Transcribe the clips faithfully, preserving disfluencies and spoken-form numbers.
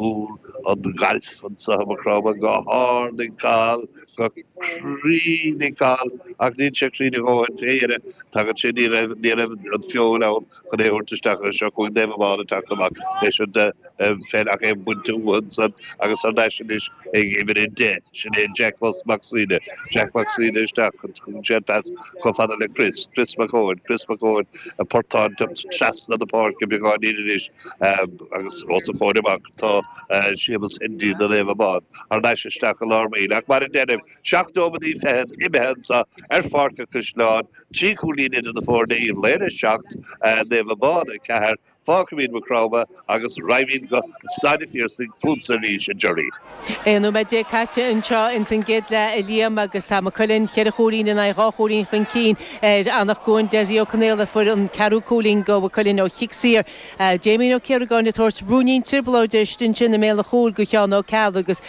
Cúl an ghailf anseo i Maigh Chromtha go hard ag Cathal, go cruinn ag Cathal ach níl sé cruinn a dhóthain fé dheireadh. Tagann sé, ní raibh, ní raibh an feoil ann chun é a thabhairt isteach agus seo chugainn Naomh Abán ag teacht amach leis an pheil ach é bainte uathu ansan agus thar n-ais anois ag uimhir a deich, sin é Jack Mac Suibhne. Jack Mac Suibhne isteach agus tugann sé an pas chomh fada le Chris, Chris Mac Eoin, Chris Mac Eoin, an portán teacht trasna na páirce beagáinín anois agus os a chomhair amach tá Séamus Hendy do Naomh Abán thar n-ais isteach i lár baill. Ach mar a deirim, seacht nóiméadaí fichead imithe anso ar Pháirc an Chaisleáin, trí chúilín idir na foirne, Uíbh Laoghaire a seacht, Naomh Abán a ceathair. Fágfaimid Maigh Chromtha agus raghaimid go Staid an Phiarsaigh chugatsa arís, a Gerry. Aon nóiméad déag caite anseo ins an gcéad leath, a Liam, agus tá Maigh Cuilinn cheithre chúilín in aghaidh dhá chúilín chun cinn ar Anach Cuain. Dessie Ó Conaola a fuair an ceathrú cúilín do Mhaigh Cuilinn ó chic saor. Damien Ó Ciaragáin ag tabhairt ruainnín trioblóide istigh ansin i mbéal an chúil do Sheán Ó Ceallaigh agus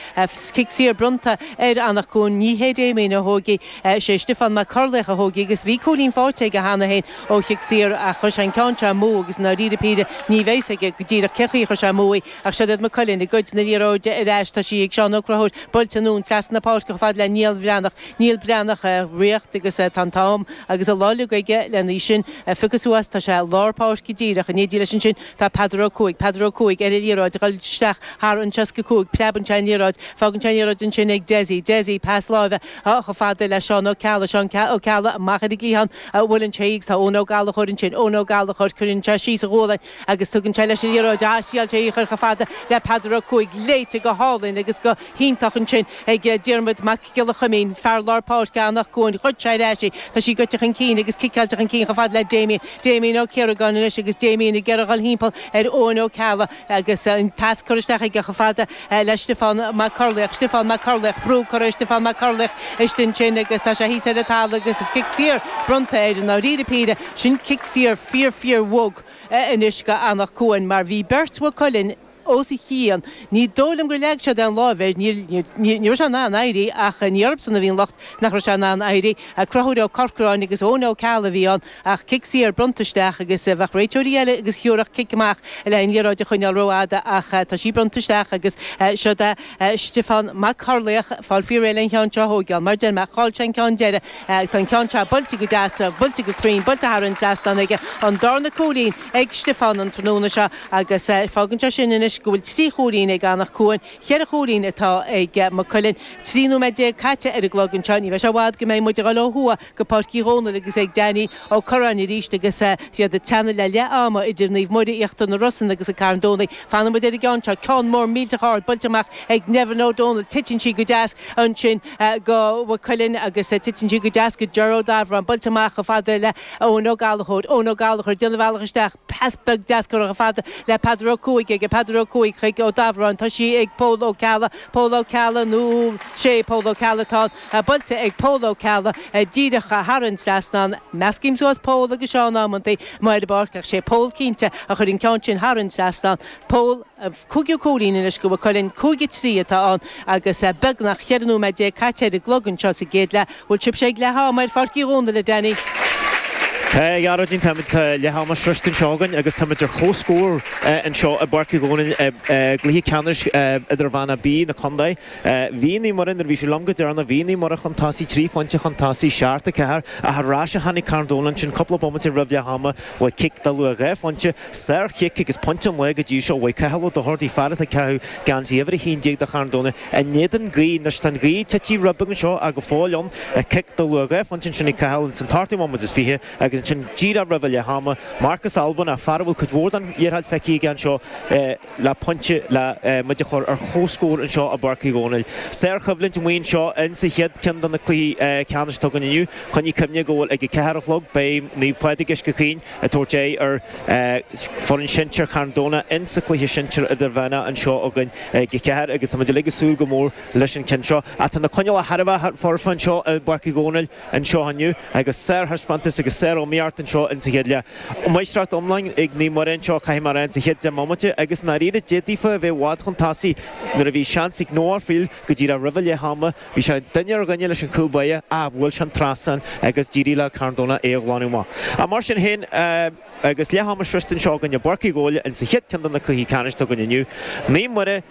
cic saor bronnta ar Anach Cuain. Ní hé Damien a thóg í, sé Stiofán Mac Corlaoich a thóg í agus bhí cúilín faighte aige cheana féin ó chic saor ach chuir sé an ceann seo amú agus i ndáiríre píre ní bheidh a fhios aige go díreach cén chaoi a chuir sé amú í ach siod iad Maigh Cuilinn ag goid na liathróide ar ais. Tá sí ag Seán Ó Conchúir buailte anonn trasna na páirce chomh fada le Niall Bhreathnach. Niall Breathnach ag ritheacht agus tá an t-am agus an lá uilig aige lena í sin a phiocadh suas. Tá sé i lár páirce díreach. In éindí leis ansin tá Peadar Ó Cuaig. Peadar Ó Cuaig ar an liathróid ag dul isteach thar an seasca cúig. Preabann sé an liathróid. Fágann sé an liathróid ansin ag Dessie. Dessie, pas láimhe chomh fada le Seán Ó Ceallaigh. Seán Ó Ceallaigh amach ar an gcliathán a bhuaileann sé í agus tá Eoin Ó Gallchóir ansin. Eoin Ó Gallchóir, cuireann sé síos a ghualainn agus tugann sé leis an liathróid. Ah, thriail sé í a chur chomh fada le Peadar Ó Cuaig. Léite go hálainn agus go hiontach ansin ag Diarmuid Mac Giolla Chuimín, fear lár páirce Anach Cuain. Ghoid sé ar ais í. Tá sí goite chun cinn agus ciceáilte chun cinn chomh fada le Damien. Damien Ó Ciaragáin anois agus Damien ag iarraidh dhul thimpeall ar Eoin Ó Ceallaigh agus an pas curtha isteach aige chomh fada le Stiofán Mac Corlaoich. Stiofán Mac Corlaoich, brú curtha ar Stiofán Mac Corlaoich istigh ansin agus tá sé thíos ar an talamh agus cic saor bronnta air i ndáiríre píre. Sin cic saor fíor fíor bhog anois go Anach Cuain mar bhí beirt Mhaigh Cuilinn os a chionn. Ní dóigh liom gur leag siad aon lámh air, ní raibh sé in ann éirí ach ní orthusan a bhí an locht nach raibh sé in ann éirí. Conchúr Ó Corcoráin agus Eoin Ó Ceallaigh a bhí ann ach cic saor bronnta isteach agus bheadh réiteoirí eile agus thiúrfadh cic amach le an liathróid a choinneáil rófhada ach tá sí bronnta isteach agus siod é Stiofán Mac Corlaoich fáil faoi réir le an cheann seo a thógáil. Mar deir mé, chaill sé an ceann deiridh. Tá an ceann seo buailte go deas, buailte go cruinn, buailte thar an trasnán aige. An darna cúilín ag Stiofán an tráthnóna seo agus fágann sé sin anois go bhfuil trí chúilín ag Anach Cuain, cheithre chúilín atá ag Maigh Cuilinn. Trí nóiméad déag caite ar an gclog anseo. Ní bheidh sé i bhfad go mbeidh muid ag dul ó thuaidh go Páirc Uí Dhónaill agus ag Danny Ó Curráin arís agus iad ag teannadh le leath ama idir Naomh Muire, Íochtar na Rosann agus an Carn Domhnaigh. Fanann muid ar an gceann seo, ceann mór millteach ard buailte amach ag Nevin Ó Dónaill. Titeann sí go deas ansin go Maigh Cuilinn agus titeann sí go deas go Ger Ó Dabhráin. Buailte amach chomh fada le Eoin Ó Gallchóir. Eoin Ó Gallchóir ag déanamh a bhealach isteach. Pas beag deas curtha chomh fada le Peadar Ó Cuaig aige. Peadar Ó Cuaig chuig Ó Dabhráin. Tá sí ag Pól Ó Ceallaigh. Pól Ó Ceallaigh nó sé Pól Ó Ceallaigh atá ann. Buailte ag Pól Ó Ceallaigh díreach thar an trasnán. Meascaim suas Pól agus Seán amantaí amuigh ar an bpáirc ach sé Pól cinnte a chuir an ceann sin thar an trasnán. Pól, cúigiú cúilín anois go Mhaigh Cuilinn, cúig a trí atá ann agus beagnach cheithre nóiméad déag caite ar an gclog anseo sa gcéad leath. Bhfuil sibhse ag leath ama ar Pháirc Uí Dhónaill, a Danny? Tá, a Ghearóidín, táimid leath ama sroiste anseo againn agus táimid ar comhscór anseo i bPáirc Uí Dhónaill i gcluiche ceannais Idirmheánach B na contae. Bhí Naomh Muire, nuair a bhí sé liom go deireanach, bhí Naomh Muire chun tosaigh, trí phointe chun tosaigh, seacht a ceathair, ach ar ais a tháinig Carn Domhnach ansin cúpla bomaite roimh leath ama, uaidh cic de luach dhá phointe, sárchic agus pointe an lae go dtí seo uaidh Cathal Ó Dochartaigh, fear atá ag caitheamh geansaí uimhir a haon déag do Charn Domhnach. In éadan gaoth, anois tá an ghaoth tite rud beag anseo ach go fóill ann, cic de luach dhá phointe ansin ag Cathal ins an t-ochtú bomaite is fiche agus ansin díreach roimh leath ama, Marcus Albanach, fear a bhfuil cuid mhór den liathróid feicthe aige anseo le pointe le muid a chur ar comhscór anseo i bPáirc Uí Dhónaill. Sárchoimhlint amuigh anseo in sa chéad ceann de na cluichí ceannais atá againn inniu. Coinnigh cuimhne go bhfuil ag a ceathair a chlog beidh Naomh Pádraig Uisce Chaoin ag tabhairt aghaidh ar foireann sinsir Charn Domhnach in sa chluiche sinsir idirmheánach anseo againn ag a ceathair agus tá muid uilig ag súil go mór leis an ceann seo. Ach tá na coinníollacha thar a bheith foirfe anseo i bPáirc Uí Dhónaill anseo inniu agus sárthaispeántas agus sáriomaíocht anseo in sa chéad leath. Máistreacht iomlán ag Naomh Muire anseo, caithfidh mé a rá, in sa chéad deich mbomaite agus i ndáiríre d'fhéadfaí a bheith i bhfad chun tosaigh nuair a bhí seans ag Noah Friel go díreach roimh leath ama. Bhí sé duine ar dhuine leis an cúl báire ach bhuail sé an trasnán agus d'éirigh le Carn Domhnach é a ghlanadh amach. Ach mar sin féin, agus leath ama sroiste anseo againn i bPáirc Uí Dhónaill in sa chéad ceann de na cluichí ceannais atá againn inniu, Naomh Muire,